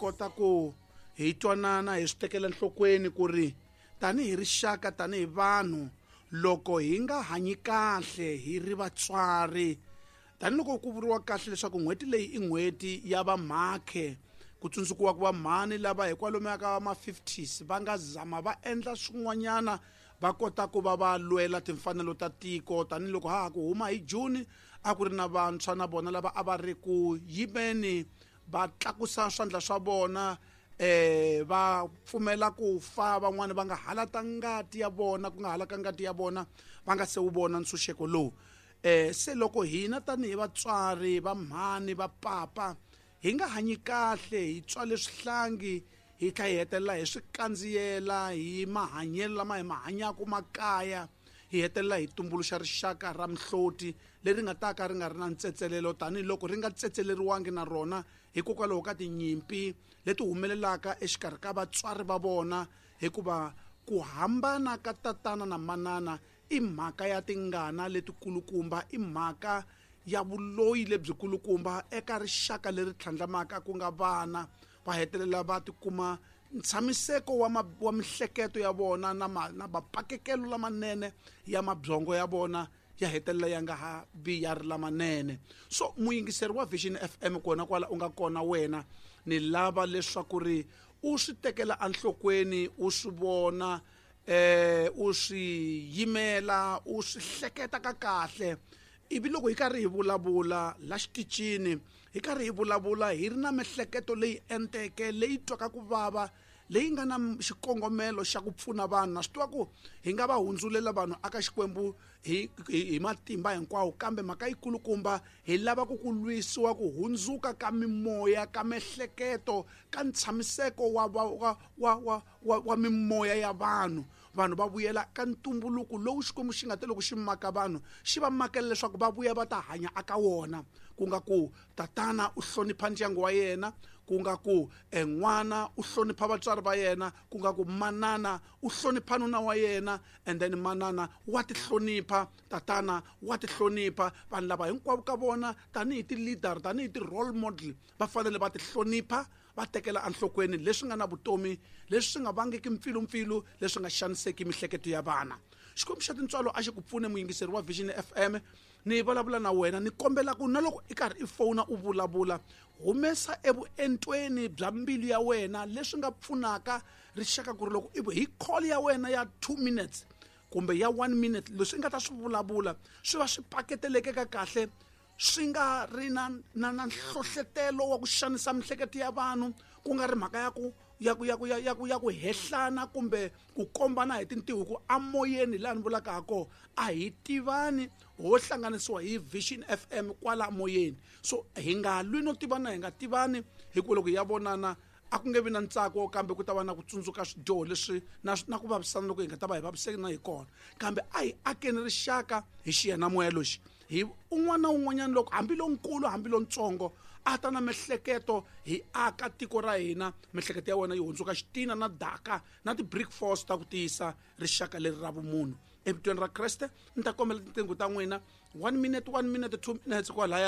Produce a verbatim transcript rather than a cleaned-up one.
kota ku hi twanana hi swi tekela enhlokweni ku ri tanihi rixaka tanihi vanhu loko hi nga hanyi kahle hi ri vatswari tanihiloko ku vuriwa kahle leswaku n'hweti leyi i n'hweti ya vamakhe ku tsundzukiwa ku va mhani lava hi kwalomuya ka ma fifties va nga zama va endla swin'wanyana va kota ku va va lwela timfanelo ta tiko tanihiloko ha ha ku huma hi June a ku ri na vantshwa na vona lava a va ri ku yimeni va tlakusa swandla swa vona eh va pfumela ku fa van'wani va nga halata ngati ya vona ku nga halaka ngati ya vona va nga se wu vona ntshunxeko lowu eh se loko hina tanihi vatswari va mhani va papa hi nga hanyi kahle hi tswale swihlangi hi tlhela hi hetelela hi swi kandziyela hi mahanyelo lama hi ma hanyaka makaya hi hetelela hi tumbuluxa rixaka ra mihloti leri nga ta ka ri nga ri na ntsetselelo tanihiloko ri nga tsetseleriwangi na rona hikokwalaho ka tinyimpi leti humelelaka exikarhi ka vatswari va vona hikuva ku hambana ka tatana na manana i mhaka ya tingana letikulukumba i mhaka ya vuloyi lebyikulukumba eka rixaka leri tlhandlamaka ku nga vana va hetelela va tikuma ntshamiseko wa, ma, wa mihleketo ya vona na, ma, na mapakekelo lamanene ya mabyongo ya vona ya hetelela ya nga ha vi ya ri lamanene so muyingiseri wa Vision F M kona kwala u nga kona wena ni lava leswaku ri u swi tekela enhlokweni u swi vona eh u swi yimela u swi hleketa ka kahle ivi loko hi karhi hi vulavula la xitichini hi karhi hi vulavula hi ri na mihleketo leyi enteke leyi twaka ku vava leyi nga na xikongomelo xa ku pfuna vanhu na swi tiva ku hi nga va hundzulela vanhu aka Xikwembu hi hi matimba hinkwawo kambe mhaka yikulukumba hi lava ku ku lwisiwa ku hundzuka ka mimoya ka mihleketo ka ntshamiseko wa wa wa wa wa, wa mimoya ya vanhu vanhu va vuyela ka ntumbuluko lowu Xikwembu xi nga te loko xi maka vanhu xi va makela leswaku va vuya va ta hanya aka wona ku nga ku tatana u hlonipha ndyangu wa yena ku nga ku n'wana u hlonipha vatswari va yena ku nga ku manana u hlonipha nuna wa yena and then manana wa ti hlonipha tatana wa ti hlonipha vanhu lava hinkwavo ka vona tanihi ti-leader tanihi ti-role model va fanele va ti hlonipha va tekela enhlokweni leswi nga na vutomi leswi swi nga vangeki mpfilumpfilu leswi nga xaniseki mihleketo ya vana Xikwembu xa tintswalo a xi ku pfune muyingiseri wa Vision F M ni vulavula na wena ni kombela ku na loko i karhi i fona u vulavula humesa evuentweni bya mbilu ya wena leswi nga pfunaka rixaka ku ri loko hi call ya wena ya two minutes kumbe ya one minute leswi nga ta swi vulavula swi va swi paketeleke ka kahle swi nga ri na na na nhlohletelo wa ku xanisa mihleketo ya vanhu ku nga ri mhaka ya ku ya ku ya ku ya ku ya ku hehlana kumbe ku kombana hi tintiho ku amoyeni laha ni vulaka ha kona a hi tivani ho hlanganisiwa hi Vision F M kwala moyeni so hi nga lwi no tivana hi nga tivani hikuva loko hi ya vonana a ku nge vi na ntsako kambe ku ta va na ku tsundzuka swidyoho leswi na na ku vavisana loko hi nga ta va hi vaviseki na hi kona kambe a hi akeni rixaka hi xiyanimoya lexi hi un'wana na un'wanyana loko hambi lonkulu hambi lontsongo a ta na mihleketo hi aka tiko ra hina mihleketo ya wena yi hundzuka xitina na daka na ti-brick force ta ku tiyisa rixaka leri ra vumunhu evitweni ra Kreste ni ta kombela tinqingho ta n'wina one minute one minute two minutes kwalaya.